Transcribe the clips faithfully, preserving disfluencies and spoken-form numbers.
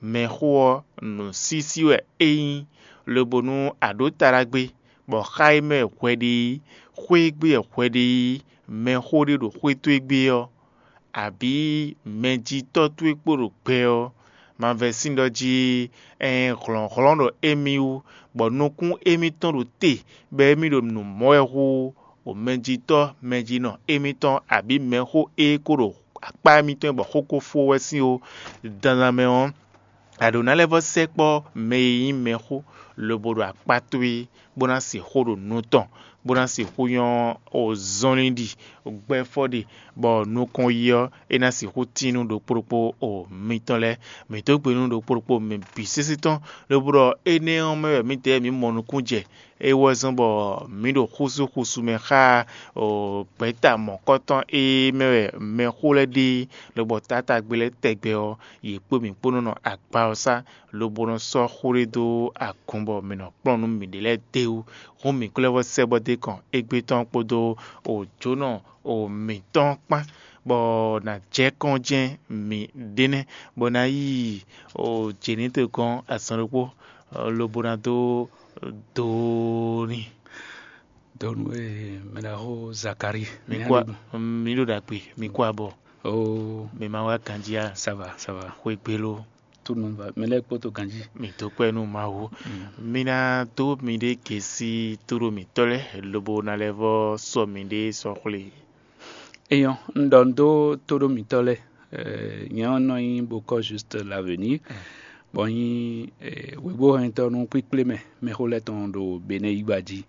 Mɛxó ɔ́, nǔsísí wɛ é nyí, lobo nú a ɖǒ ta ɖagbe, bɔ xá e mɛ wɛ hwɛ ɖe é, xwé e gbé wɛ hwɛ ɖe é, mɛxó ɖé ɖo xwé towe gbe ɔ́, abǐ mɛjitɔ́ towe kpo ɖo gbɛ ɔ́, ma vɛ́ sín ɖɔ jí, ɛɛn hlɔ̌nhlɔ́n ɖo émí wú, bɔ nukún émítɔn ɖo te, bɔ émí ɖo nǔ mɔ wɛ hú, o mɛjitɔ́ mɛjinɔ émítɔn abǐ mɛxó e ko ɖo akpá émítɔn bɔ xó ko fó wɛ sín ó, dandan mɛ ɔ́, a ɖǒ ná lɛ́ vɔ́ sɛkpɔ́ mɛ e nyí mɛxó lobo ɖo akpá towe, bó ná sixú ɖo nǔ tɔn, bó ná sixú nyɔ́ o zɔnlin ɖi, gbɛ́fɔ ɖe, bɔ nukɔn yi ɔ́, é ná sixú tín nú ɖokpó ɖokpó o mitɔn lɛ́ɛ. Mǐ dó gbe nú ɖokpó ɖokpó mɛ bǐ sésé tɔn, lobo ɖɔ énɛ́ ɔ́ mɛ wɛ mǐdɛɛ mǐ mɔ nukún jɛ. É wɛ zɔ́n bɔ mǐ ɖo xúsúxúsú mɛ xá gbɛ̌ta mɔ̌kɔtɔn e mɛ wɛ mɛxó lɛ́ɛ ɖe, lobɔ taátagbe lɛ́ɛ tɛgbɛ ɔ́, yě kpó mǐ kpó nɔ nɔ agba ɔ́ sá, lobo nɔ sɔ́ xó ɖé dó agun bɔ mǐ nɔ kplɔ́n nǔ mǐɖée lɛ́ɛ d'é wú. Hǔn mǐ ko lɛ́ vɔ́ sɛ bɔ dó kɔn égbé tɔn kpódó jǒnɔ mǐtɔn kpán, bɔ nǎ jɛ kɔn jɛ́n mǐ ɖe nɛ́, bɔ ná yi jěnítɔ́ gɔ́n azɔn ɖokpó, lobo ná dó doo n'i. Donu e mɛ ɖaxó Zakari. Mi kó a- mi ɖo ɖagbe, mi kó abɔ. Oh, Mi ma wá ganjí a? Ça va, ça va. Xwé gbé ló. Tout le monde va. Mɛ lɛ́ɛ kpódó ganjí. Mi dó kpɛ́ nú Mawu. Mi ná dó miɖée gěsí tóɖó mǐtɔn lɛ́ɛ, lobo ná lɛ́ vɔ́ sɔ miɖée sɔ́ xwlé. Eyɔn, un ɖɔ un dó tóɖó mǐtɔn lɛ́ɛ. Nyɛ ɔ́ nɔ nyí bokɔ juste l'avenir. Bɔ nyí wěgbóhɛntɔ́ nú kpíkplé mɛ mɛxó lɛ́ɛ tɔn ɖo Benɛ́ yígbá jí.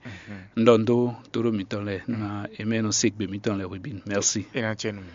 Un ɖɔ un dó tóɖó mǐtɔn lɛ́ɛ ná é mɛ nɔ se gbe mǐtɔn lɛ́ɛ hwebǐnu. Merci. É ná cɛ nú mi.